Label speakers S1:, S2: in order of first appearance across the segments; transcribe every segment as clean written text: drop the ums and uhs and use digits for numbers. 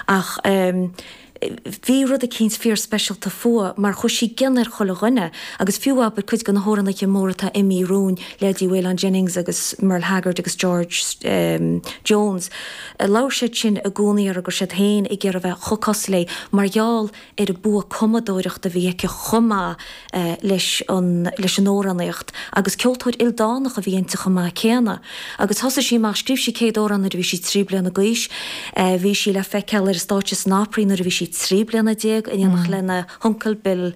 S1: Ach bhí rud eicínt fíorspeisialta fúithi mar chuaigh sí i gcion ar chuile dhuine agus fiú abair cuid de na hamhránaithe móra atá imithe romhainn, leithéidí Waylon Jennings agus Merle Haggard agus George Jones, labhair siad sin i gcónaí ar go raibh siad féin ag iarraidh a bheith chomh cosúil léi mar gheall ar an bua cumadóireachta a bhí aici chomh maith leis an leis an amhránaíocht agus ceoltóir ildánach a bhí inti chomh maith céanna. Agus thosaigh sí amach, scríobh sí céad amhrán nuair a bhí sí 13 bliana d'aois, bhí sí le feiceáil ar an stáitse san Opry nuair a bhí sí 13 bliana in éineacht lena huncail Bill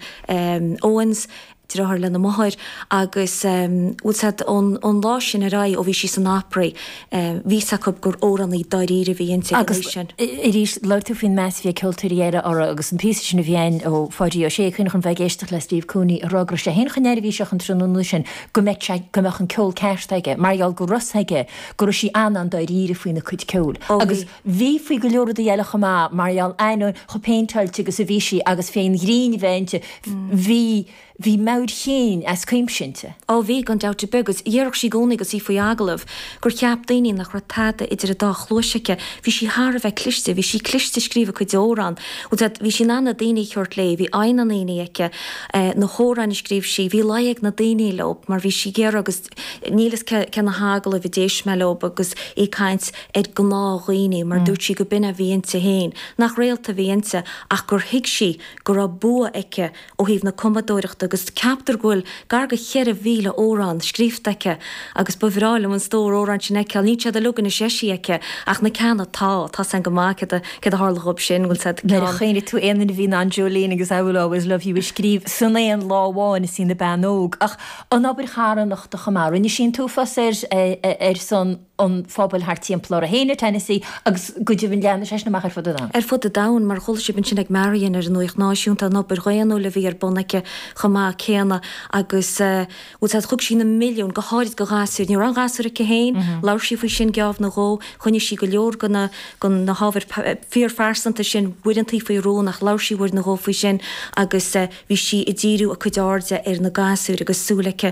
S1: Owens, deartháir lena máthair agus bhfuil 's a'd ón ón lá sin ar aghaidh ó bhí sí san Opry bhí 's acu gur amhránaí dáiríre a bhí inti ag an
S2: Agus
S1: aois sin.
S2: arís labhair tú faoin meas a bhí ag ceoltóirí eile uirthi agus an píosa sin a bhí ann ó Pháidí Ó Sé, cuimhneach liom bheith ag éisteacht le Steve Cooney ag rá go raibh sé féin chomh neirbhíseach an tráthnóna sin go mbeadh sé go mbeadh an ceol ceart aige mar gheall go raibh 's aige go raibh sí an-an-dáiríre faoina cuid ceoil.
S1: Ó
S2: Agus
S1: bhí.
S2: bhí faoi go leor rudaí eile chomh maith mar gheall ainneoin chomh péinteáilte agus a bhí sí agus fén ghrinn a bheith inti bhí bhí meabhair chéin as cuimse inti.
S1: Ó bhí, gan dabht ar bith, agus déarfadh sí i gcónaí agus í faoi agallamh gur cheap daoine nach raibh tada idir an dá chluais aici. Bhí sí thar a bheith cliste, bhí sí cliste ag scríobh a cuid amhrán. Bhfuil 's a'd, bhí sí in ann na daoine a thabhairt léi, bhí aghaidh na ndaoine aici, na hamhráin a scríobh sí, bhí luí ag na daoine leo mar bhí sí ag iarraidh agus níl 'fhios cé na hagallaimh a d'éist mé leo agus í ag caint ar gnáthdhaoine mar dúirt sí go b'in a bhí inti féin, nach réalta a bhí inti ach gur thuig sí go raibh bua aici ó thaobh na cumadóireachta agus ceaptar go bhfuil gar go 4,000 amhrán scríofa aici agus ba bhreá liom an stór amhrán sin a fheiceáil. Níl siad uilig anois eisithe aici ach na ceanna atá, tá 's a'inn go maith céard a céard a tharla dhób sin, bhfuil 's a'd,
S2: Nuair a
S1: ceann.
S2: chuimhnigh tú aon duine a bhí in ann Jolene agus I Will Always Love You a scríobh san aon lá amháin is í ina bean óg. Ach an obair charthanachta chomh maith, rinne sí an t-uafás ar ar son an phobail thart timpeall uirthi féin i Tennessee agus go deimhin leathnaigh sé sin amach ar fud an domhain.
S1: Ar fud an domhain, mar chuala sibh ansin ag Marion ar an Nuacht Náisiúnta, an obair dhaonnúil a bhí ar bun aici chomh maith céanna agus bhfuil 's a'd, thug sí na milliúin, go háirid go ghasúir. Ní raibh aon ghasúr aici féin, labhair sí faoi sin geábh nó dhó, choinnigh sí go leor de na de na hábhair fíorphearsanta sin uaireantaí faoi rún ach labhair sí uair nó dhó faoi sin agus Bhí sí ag díriú a cuid airde ar na gasúir agus súil aici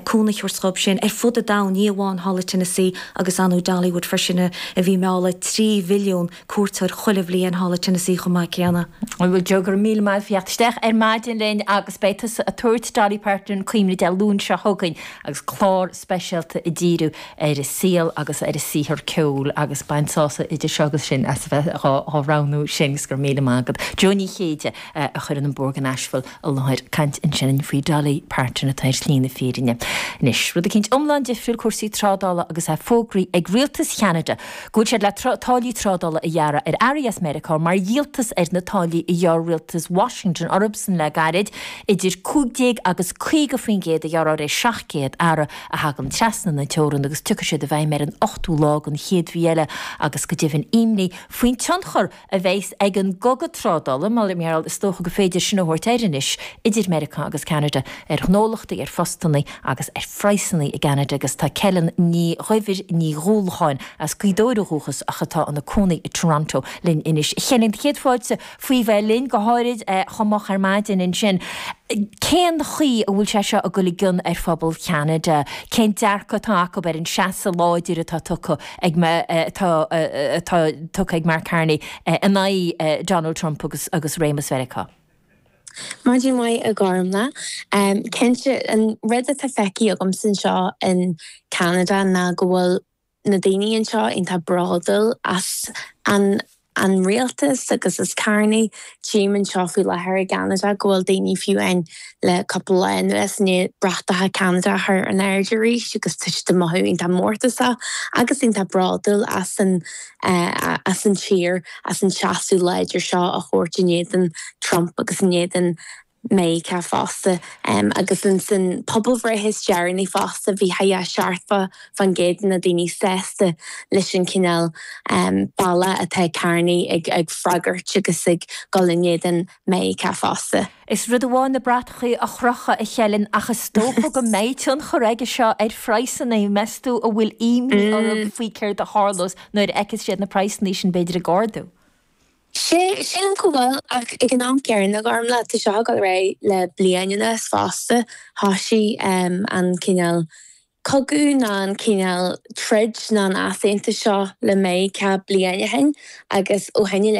S1: cúnamh a thabhairt dhób sin ar fud an domhain, ní amháin thall i Tennessee agus ar ndóigh Dollywood freisin a bhí ag mealladh 3 mhilliún cuairteoir chuile bhliain thall i Tennessee chomh maith céanna.
S2: Bhuel Joe, go raibh míle maith agat as theacht isteach ar maidin linn agus beidh tusa ag tabhairt Dolly Parton cuimhne Dé Luain seo chugainn agus clár speisialta ag díriú ar a saol agus ar a saothar ceoil agus bain sásamh idir seo agus sin as a bheith dhá roghnú sin agus go raibh míle maith agat. Joe Ní Chéide a chuireann an Bord Nashville i láthair caint ansin faoi Dolly Parton atá ar shlí na fírinne. Anois, rud eicínt iomlán difriúil, cúrsaí trádála agus é fógraithe ag rialtas Cheanada go bhfuil siad le táillí trádála a ghearradh ar earraí as Meiriceá mar dhíoltas ar na táillí a ghearr rialtas Washington orthusan le gairid, idir 15 agus 50% a ghearradh ar 700 earra a thagann trasna na teorann agus tiocfaidh siad i bhfeidhm ar an ochtú lá den chéad mhí eile agus go deimhin imní faoin tionchar a bheas ag an gcogadh trádála, mar is dócha gur féidir sin a thabhairt air anois, idir Meiriceá agus Ceanada ar ghnólachtaí, ar phostanna agus ar phraghsanna i gCeanada agus tá Celyn Ní Dhuibhir Ní Dhúlacháin, as Gaoth Dobhair ó dhúchas ach atá ina cónaí i Toronto, linn anois. A Chelyn, céad fáilte faoi bheith linn, go háirid chomh moch ar maidin ansin. Cén chaoi a bhfuil sé seo ag dul i gcion ar phobal Cheanada? Cén dearcadh atá acu ar an seasamh láidir atá tugtha ag atá atá tugtha ag Mark Carney in aghaidh Donald Trump agus agus réimeas Mheiriceá?
S3: Maidin mhaith a Ghormfhlaith. Cinnte, an rud atá feicthe agamsa anseo in Ceanada ná go bhfuil na daoine anseo iontach bródúil as an an rialtas agus as Carney. Tchím anseo faoi láthair i gCeanada go bhfuil daoine fiú amháin le cúpla lá anuas i ndiaidh bratacha Ceanada a chur in airde arís agus tá siad ag mothú iontach mórtasach agus iontach bródúil as an as an tír, as an seasamh láidir seo a thabhairt in éadan Trump agus in éadan Meiriceá fosta. Agus ins an pobalbhreith is deireanaí fosta bhí 70% de na daoine sásta leis an cineál bealach atá Carney ag freagairt agus ag dul in éadan Meiriceá fosta.
S2: Is rud amháin na bratachaí a chrochadh, a Chelyn, ach is dócha go mbeidh tionchar aige seo ar phraghsanna. Meas tú an bhfuil imní orthu faoi céard a tharlós nuair a fheicfeas siad na praghsanna sin b'fhéidir ag ardú?
S3: Sea, sílim go bhfuil, ach ag an am céanna, Gormfhlaith, tá seo ag dul ar aghaidh le bliain anuas fosta. Thoisigh an cineál cogadh nó an cineál troid nó an easaontas seo le Meiriceá bliain ó shin agus ó shin i leith.